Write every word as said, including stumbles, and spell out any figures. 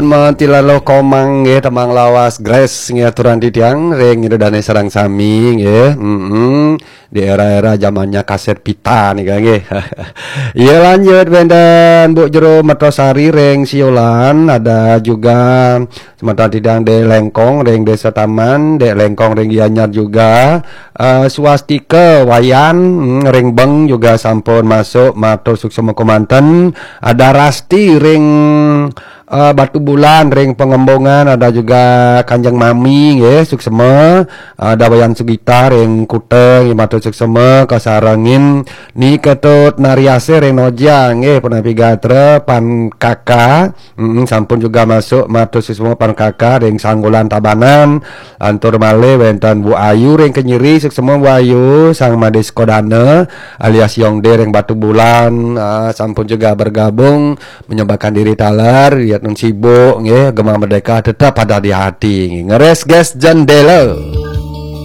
Mantilalo Komang nggih, tembang lawas Grace nggih, aturan titiang ring ida dane sareng sami nggih. Mm-mm. Di era-era zamannya kaset pita nih kan nggih. Iya, lanjut wenten Bu Jero Mertosari ring Siolan, ada juga semeton titiang Dek Lengkong ring Desa Taman, Dek Lengkong ring Gianyar juga, eh, Swastika Wayan, mm, ring Beng juga sampun masuk, matur suksma kemanten. Ada Rasti ring eh, Batu Bulan ring Pengembongan, ada juga Kanjeng Mami nggih, suksma, ada Wayan Sugita ring Kuta nggih, matur suksma, kasarengin Ni Ketut Nariase ring Noja nggih, punapi gatra Pan Kaka. Mm, sampun juga masuk, matur suksma Pan Kaka ring Sanggulan Tabanan. Lantur malih wenten Bu Ayu ring Kenyiri, suksma Bu Ayu, Sang Madis Kodana alias Yongde ring Batu Bulan, ah, sampun juga bergabung menyempatkan diri taler, lihat nun sibuk nggih, Gema Merdeka tetap ada di hati nggih. Ngeres gas jendela.